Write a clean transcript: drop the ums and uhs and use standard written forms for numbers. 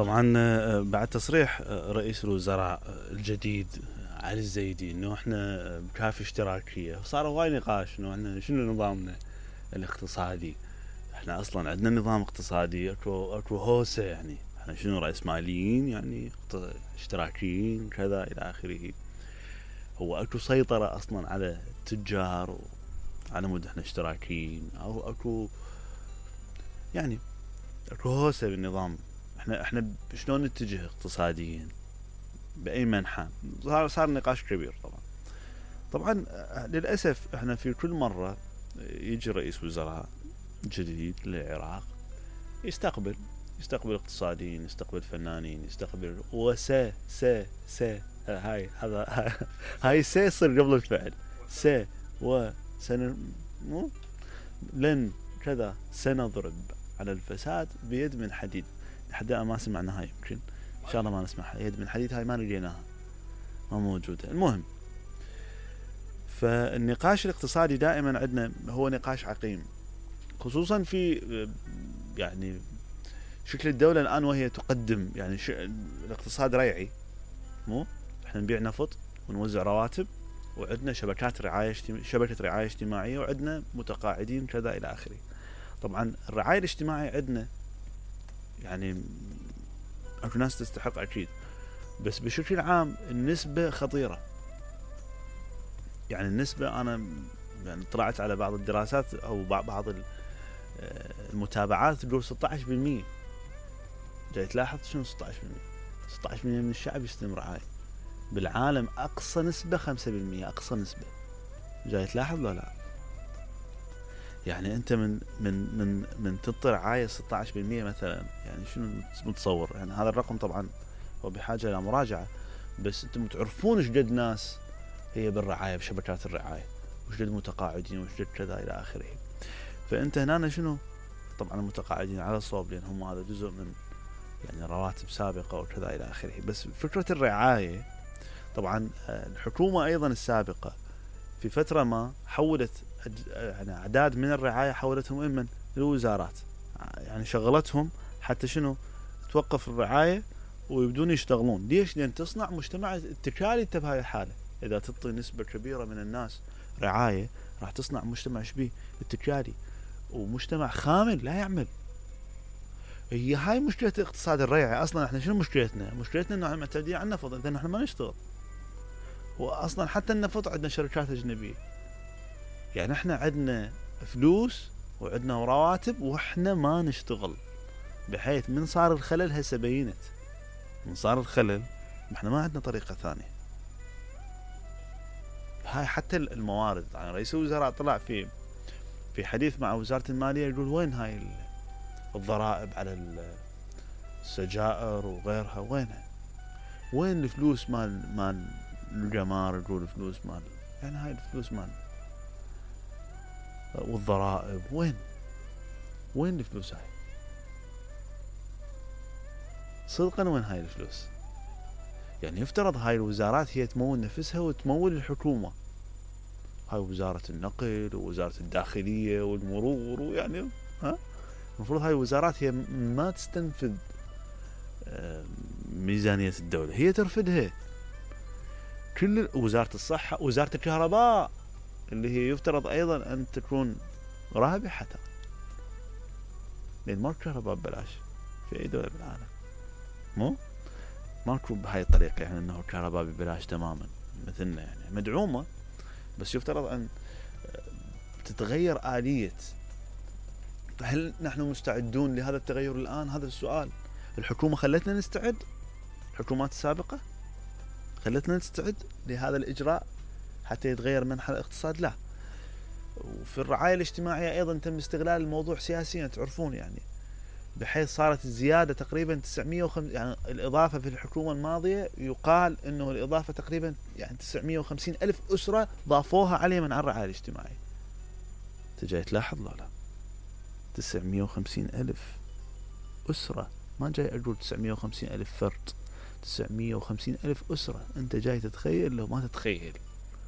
طبعا بعد تصريح رئيس الوزراء الجديد علي الزيدي انه احنا بكافي اشتراكيه، صار هواي نقاش انه احنا شنو نظامنا الاقتصادي. احنا اصلا عندنا نظام اقتصادي اكو هوسه، يعني احنا شنو رأسماليين يعني اشتراكيين كذا الى اخره. هو اكو سيطره اصلا على التجار على مود احنا اشتراكيين، او اكو يعني اكو هوسه بالنظام. احنا شلون نتجه اقتصاديا باي منحى؟ صار نقاش كبير. طبعا للاسف احنا في كل مره يجي رئيس وزراء جديد للعراق يستقبل اقتصاديين، يستقبل فنانين، يستقبل هاي هذا هاي يصير قبل الفعل. مو لن كذا سنضرب على الفساد بيد من حديد. لحد الآن ما سمعنا هاي، يمكن ان شاء الله ما نسمعها. يد من حديد هاي ما لقيناها، ما موجوده. المهم، فالنقاش الاقتصادي دائما عندنا هو نقاش عقيم، خصوصا في يعني شكل الدولة الآن وهي تقدم يعني الاقتصاد ريعي. مو احنا نبيع نفط ونوزع رواتب، وعندنا شبكة رعاية اجتماعية، وعندنا متقاعدين كذا إلى آخره. طبعا الرعاية الاجتماعية عندنا يعني اكو ناس تستحق أكيد، بس بشكل عام النسبة خطيرة. يعني النسبة أنا يعني طلعت على بعض الدراسات أو بعض المتابعات تقول 16%. جاي تلاحظ شنو 16%؟ 16% من الشعب يستلم رعاية. بالعالم أقصى نسبة 5%، أقصى نسبة. جاي تلاحظ لا؟ يعني أنت من تعطي رعاية 16% مثلا، يعني شنو متصور؟ يعني هذا الرقم طبعا هو بحاجة إلى مراجعة، بس أنتم تعرفون إيش قد ناس هي بالرعاية بشبكات الرعاية، وش قد متقاعدين، وش قد كذا إلى آخره. فأنت هنا شنو؟ طبعا المتقاعدين على صوب، لأن هم هذا جزء من يعني رواتب سابقة وكذا إلى آخره. بس فكرة الرعاية طبعا الحكومة أيضا السابقة في فترة ما حولت يعني أعداد من الرعاية، حولتهم إما للوزارات، يعني شغلتهم حتى شنو؟ توقف الرعاية ويبدون يشتغلون. ليش؟ لأن تصنع مجتمع اتكالي. انت بهاي الحالة إذا تعطي نسبة كبيرة من الناس رعاية راح تصنع مجتمع شبيه اتكالي، ومجتمع خامل لا يعمل. هي هاي مشكلة الاقتصاد الريعي. أصلا احنا شنو مشكلتنا؟ مشكلتنا انه معتمدين على النفط، إذا احنا ما نشتغل. وأصلا حتى النفط عندنا شركات أجنبية، يعني احنا عندنا فلوس وعندنا رواتب واحنا ما نشتغل، بحيث من صار الخلل. هسه بينت من صار الخلل، احنا ما عندنا طريقة ثانية. هاي حتى الموارد، يعني رئيس الوزراء طلع في حديث مع وزارة المالية يقول وين هاي الضرائب على السجائر وغيرها؟ وين الفلوس مال الجمار؟ يقول فلوس مال، يعني هاي الفلوس مال والضرائب وين الفلوس هاي؟ صدقا وين هاي الفلوس؟ يعني يفترض هاي الوزارات هي تمول نفسها وتمول الحكومة. هاي وزارة النقل ووزارة الداخلية والمرور، ويعني المفروض هاي الوزارات هي ما تستنفذ ميزانية الدولة، هي ترفدها. كل وزارة الصحة، وزارة الكهرباء اللي هي يفترض أيضا أن تكون رابحة، لأن ماكو كهرباء ببلاش في أي دولة بالعالم. ماكو بهاي الطريقة، يعني أنه الكهرباء ببلاش تماما مثلنا، يعني مدعومة، بس يفترض أن تتغير آلية. هل نحن مستعدون لهذا التغير الآن؟ هذا السؤال. الحكومة خلتنا نستعد؟ الحكومات السابقة خلتنا نستعد لهذا الإجراء حتى يتغير منحى الاقتصاد؟ لا. وفي الرعاية الاجتماعية أيضا تم استغلال الموضوع سياسيا، تعرفون يعني، بحيث صارت الزيادة تقريبا 950. يعني الإضافة في الحكومة الماضية يقال أنه الإضافة تقريبا يعني 950 ألف أسرة ضافوها عليه من الرعاية الاجتماعية. تجي تلاحظ لا 950 ألف أسرة، ما جاي أقول 950 ألف فرد، 950 ألف أسرة. أنت جاي تتخيل؟ لو ما تتخيل.